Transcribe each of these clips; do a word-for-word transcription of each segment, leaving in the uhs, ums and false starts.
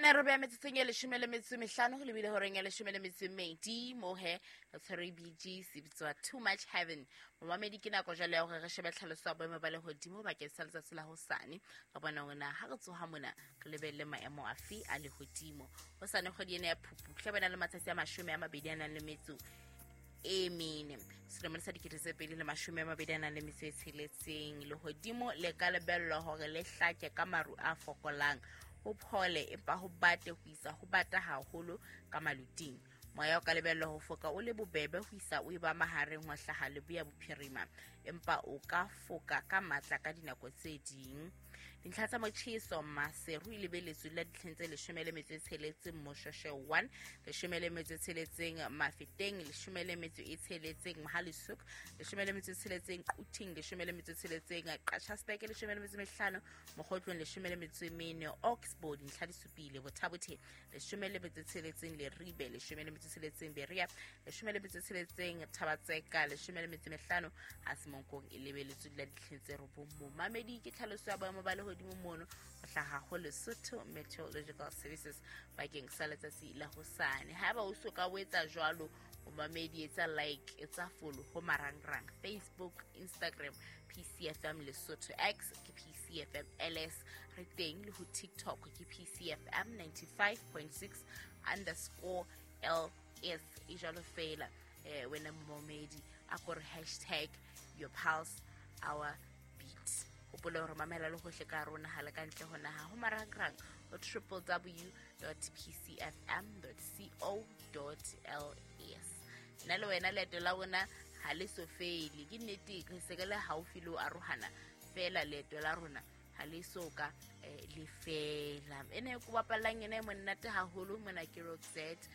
Ene re beha metsotsong e leshome le metso e mehlano ho lebile horeng ya leshome le metso e mmedi. Mo he re tshwere B G se bitswa Too Much Heaven. Momamedi, ke nako jwale ya hore re shebe tlhaloso ya boemo ba lehodimo bakeng sa letsatsi la hosane. Re bona hore na ha re tsoha mona re lebelle maemo afe a lehodimo. Hosane kgwedi ena ya Phupu tla bana le matsatsi a mashome a mabedi a nang le metso e mene. Selemong sa dikete tse pedi le mashome a mabedi a nang le metso e tsheletseng. Lehodimo le ka lebellwa hore le hlake ka maru a fokolang. Ho phole empa ho bate ho isa ho bata haholo ka maluting. Moya o ka lebellwa ho foka o le bobebe ho isa o eba mahareng ho hlaha leboya bophirima, empa o ka foka ka matla ka dinako tse ding. Dintlha tsa motjheso Maseru e lebeletswe la ditlheng tse leshome le metso e tsheletseng, Moshoeshoe one, leshome le metso e tsheletseng Mafeteng, leshome le metso e tsheletseng Mohale'shoek, leshome le metso e tsheletseng Quthing, leshome le metso e tsheletseng Qachasterk, leshome le metso e mehlano Mokhotlong, leshome le metso e mene Oxbow, dintlha di supile Botha-Bothe, leshome le metso e tsheletseng Leribe, leshome le metso e tsheletseng Berea, leshome le metso e tsheletseng Thabatseka, leshome le metso e mehlano Hasemonkong e lebeletswe la ditlheng tse robong. Momamedi, ke tlhaloso ya boemo ba lehodimo mono ho hlaha ho Lesotho Meteorological Services bakeng sa letsatsi la hosane. Haeba o so ka o etsa jwalo, momamedi, etsa like, etsa follow ho marangrang Facebook, Instagram, P C F M Lesotho, X ke P C F M L S, re teng le ho TikTok ke P C F M ninety-five point six underscore L S. E jwalo fela, eh, wena momamedi, a kore hashtag your pulse our beat. Hopola hore mamela le hohle ka rona ha le ka ntle ho naha ho marangrang ho triple w dot p c f m dot co dot l s. Nna le wena leeto la rona ha le so fele. Ke nnete re se re le haufi le ho arohana fela, leeto la rona ha le so ka, eh, le fela. Ene ko bapallang ena e monate haholo mona ke Roxette,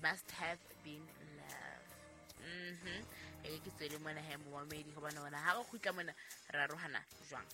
Must Have Been Love. Mm-hmm. E ke tswele mona he momamedi, hobane hona ha re kgutla mona re arohana jwang?